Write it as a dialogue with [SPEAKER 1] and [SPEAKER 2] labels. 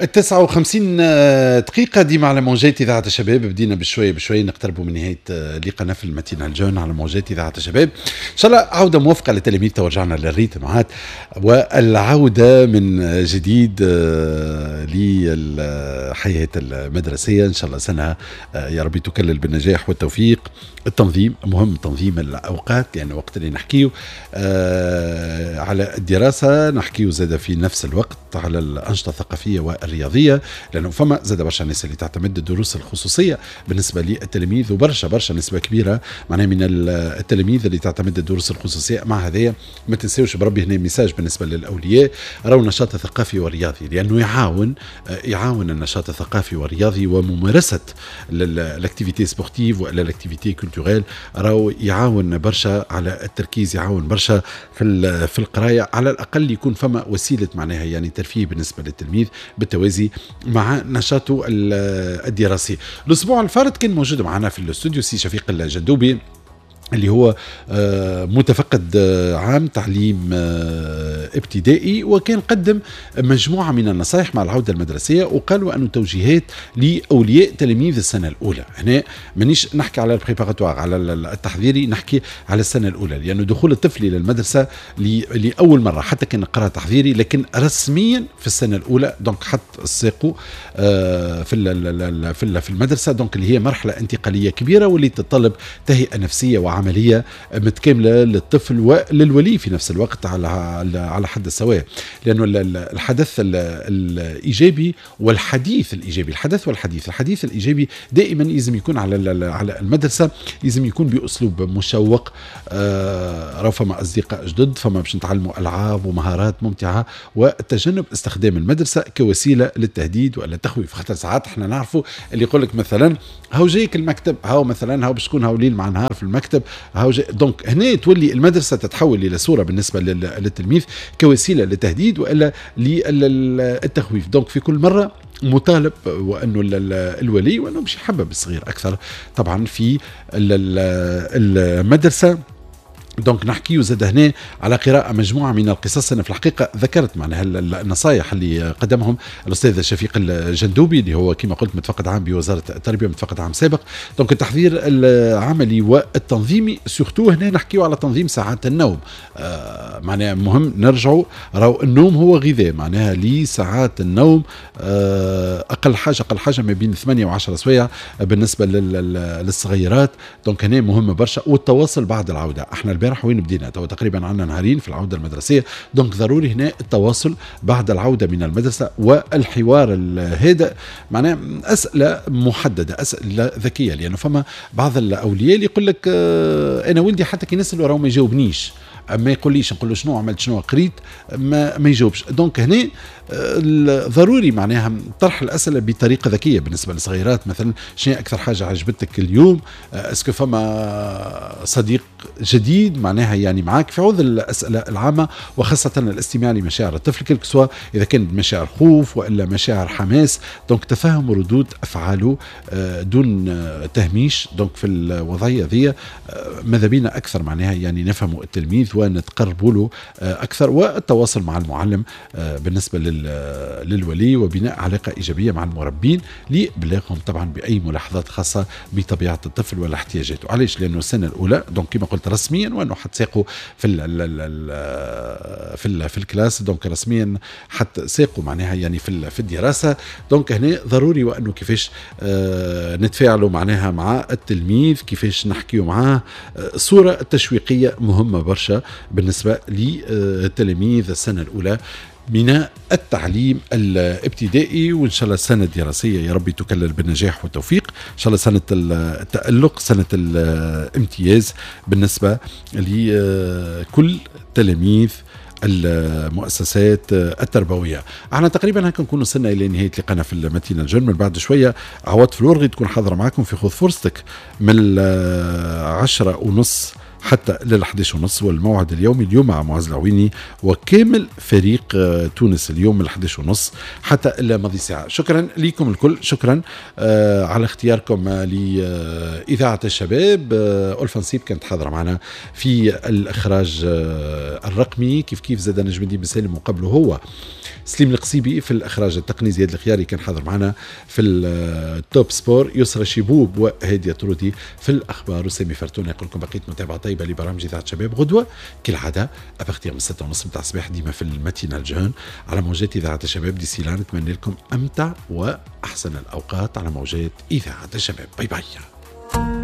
[SPEAKER 1] 59 دقيقة ديما على موجات إذاعة الشباب. بدينا بشوية بشوية نقتربوا من نهاية لقاءنا في ال matinale jeune على موجات إذاعة الشباب. إن شاء الله عودة موفقة للتلاميذ، ورجعنا لل rythme عاد والعودة من جديد للحياة المدرسية. إن شاء الله سنة يا ربي تكلل بالنجاح والتوفيق. التنظيم مهم، تنظيم الأوقات، لأن يعني وقت اللي نحكيو على الدراسة نحكيو زاد في نفس الوقت على الأنشطة الثقافية والرياضية، لأنه فما زاد برشا ناس اللي تعتمد الدروس الخصوصية بالنسبة للتلاميذ، وبرشا برشا نسبة كبيرة معناها من التلاميذ اللي تعتمد الدروس الخصوصية. مع هذايا ما تنساوش بربي هنا message بالنسبة للأولياء، راهو النشاط الثقافي والرياضي، لأنه يعاون النشاط الثقافي والرياضي وممارسة l'activité sportive ولا l'activité culturelle، راهو يعاون برشا على التركيز، يعاون برشا في القراية. على الأقل يكون فما وسيلة معناها يعني ترفيه بالنسبة للتلميذ بالتوازي مع نشاطه الدراسي. الأسبوع الفارط كان موجود معنا في الاستوديو سي شفيق الجندوبي اللي هو متفقد عام تعليم ابتدائي، وكان قدم مجموعة من النصائح مع العودة المدرسية، وقالوا أنه توجيهات لأولياء تلاميذ السنة الأولى. هنا مانيش نحكي على ال préparatoire، على التحضيري، نحكي على السنة الأولى، لأنه دخول الطفل إلى المدرسة لأول مرة حتى كان قرأ تحضيري، لكن رسميا في السنة الأولى donc حط ساقه في المدرسة، donc اللي هي مرحلة انتقالية كبيرة واللي تتطلب تهيئة نفسية وعملية متكاملة للطفل وللولي في نفس الوقت على حد السواء، لانه الحدث الايجابي والحديث الايجابي، الحدث والحديث، الحديث الايجابي دائما لازم يكون على المدرسه، لازم يكون باسلوب مشوق. راهو فما اصدقاء جدد، فما باش نتعلموا العاب ومهارات ممتعه، وتجنب استخدام المدرسة كوسيلة للتهديد ولا التخويف. خاطر ساعات احنا نعرفوا اللي يقول لك مثلا هاو جايك المكتب، هاو مثلا هاو باش تكون هاو ليل مع نهار في المكتب، هاو جاي. donc هنا تولي المدرسة تتحول الى صوره بالنسبة للتلميذ كوسيلة للتهديد والا للتخويف. donc في كل مرة مطالب وانه الولي وانه باش يحبب الصغير اكثر طبعا في المدرسه. donc نحكيو زاد هنا على قراءة مجموعة من القصص. أنا في الحقيقة ذكرت معناها النصائح اللي قدمهم الأستاذ شفيق الجندوبي اللي هو كما قلت متفقد عام بوزارة التربية، متفقد عام سابق. donc التحضير العملي والتنظيمي، surtout هنا نحكيو على تنظيم ساعات النوم. معناها مهم نرجعوا راهو النوم هو غذاء، معناها لساعات النوم أقل حاجة ما بين 8 و10 سوايع بالنسبة للصغيرات. donc هنا مهم برشا. والتواصل بعد العودة، احنا البارح وين بدينا تو تقريبا عندنا نهارين في العودة المدرسيه، donc ضروري هنا التواصل بعد العودة من المدرسة والحوار الهادئ، معناها اسئلة محدده، اسئلة ذكيه، لانه فما بعض الاولياء اللي يقول لك انا ولدي حتى كي نساله راهو ما يجاوبنيش، ما يقوليش، نقول له شنو عملت، شنو قريت، ما يجاوبش. donc هنا ضروري معناها طرح الاسئلة بطريقة ذكية بالنسبة للصغيرات، مثلا شنو اكثر حاجة عجبتك اليوم، est-ce que فما صديق جديد معناها يعني معاك، في عوض الاسئلة العامه، وخاصة الاستماع لمشاعر الطفل quel que soit اذا كان مشاعر خوف والا مشاعر حماس. donc تفهم ردود افعاله دون تهميش. donc في الوضعية ذي ماذا بينا اكثر معناها يعني نفهموا التلميذ ونتقربوا له اكثر، والتواصل مع المعلم بالنسبة للولي، وبناء علاقة ايجابية مع المربين لابلاغهم طبعا باي ملاحظات خاصة بطبيعة الطفل ولا احتياجاته. علاش؟ لانه السنة الاولى donc كما قلت رسميا وانه حط ساقه في ال classe، donc رسميا حط ساقه معناها يعني في الدراسه. donc هنا ضروري وانه كيفاش نتفاعلوا معناها مع التلميذ، كيفاش نحكيو معاه. الصورة التشويقيه مهمة برشا بالنسبة للتلاميذ السنة الاولى من التعليم الابتدائي. وان شاء الله السنة الدراسية يا ربي تكلل بالنجاح والتوفيق، ان شاء الله سنة التالق، سنة الامتياز بالنسبة لكل تلاميذ المؤسسات التربويه. احنا تقريبا هكا نكون وصلنا الى نهاية لقانا في ال matinale jeune. من بعد شوية عواطف الورغي تكون حاضره معكم في خذ فرصتك من 10:30 حتى لل 11:30، والموعد اليومي اليوم مع معز العويني وكامل فريق تونس اليوم من 11:30 حتى إلى ماضي ساعة. شكرا لكم الكل، شكرا على اختياركم لإذاعة الشباب. ألفا نصيب كانت حاضرة معنا في الإخراج الرقمي، كيف كيف زاد نجم الدين بن سالم وقبله هو. سليم القصيبي في الاخراج التقني، زياد الخياري كان حاضر معنا في ال Top Sport، يسرى شيبوب وهاديه ترودي في الاخبار، وسامي فرتون يقول لكم بقيت متابعه طيبة لبرامج اذاعة شباب. غدوه كالعادة à partir من 6:30 نتاع الصباح ديما في ال matinale jeune على موجات اذاعة الشباب. d'ici là نتمنى لكم امتع واحسن الاوقات على موجات اذاعة الشباب. bye bye.